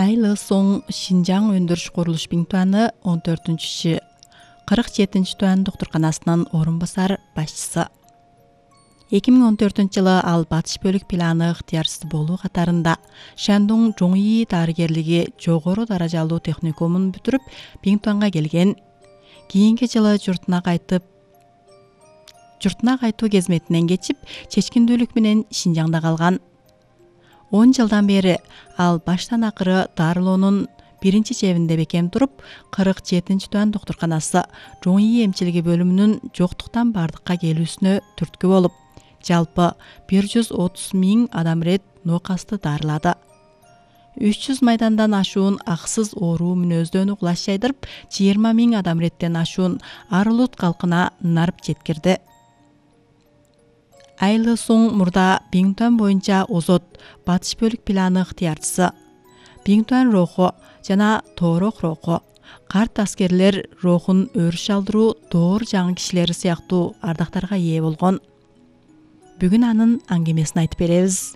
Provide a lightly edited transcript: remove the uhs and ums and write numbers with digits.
Айлы соң Шинжаң өндүрүш курулуш биңтуаны 47 туан доктурканасынын орун басар башчысы. 2014-жылы ал батыш бөлүк планы ыктыярчысы болуу катарында Шандун Жоңи дарыгерлиги жогору даражалуу техникумун бүтүрүп, Биңтуанга келген. Кийинки жылы журтуна кайтуу кезметинен кечип, чечкиндүүлүк менен Шинжаңда калган. 10 жылдан бери ал баштан акыры дарылоонун биринчи чебинде бекем туруп, 47 туан доктурканасы Жоңи эмчилиги бөлүмүнүн жоктуктан бардыкка келүүсүнө түрткү болуп, жалпы 130 000 адам рет ноокасты дарылады. 300 майдандан ашуун аксыз ооруу мүнөздөн угулаш жайдырып, 20 000 адам реттен ашуун Арылут калкына нарып жеткирди. Айлы соң мурда Биңтуан боюнча озот батыш бөлүк планы ыктыярчысы, Биңтуан роху жана Тоорох роху, карт аскерлер рохун өрүш алдыруу доор жаңы кишилери сыяктуу ардактарга ээ болгон. Бүгүн анын аңгемесин айтып беребиз.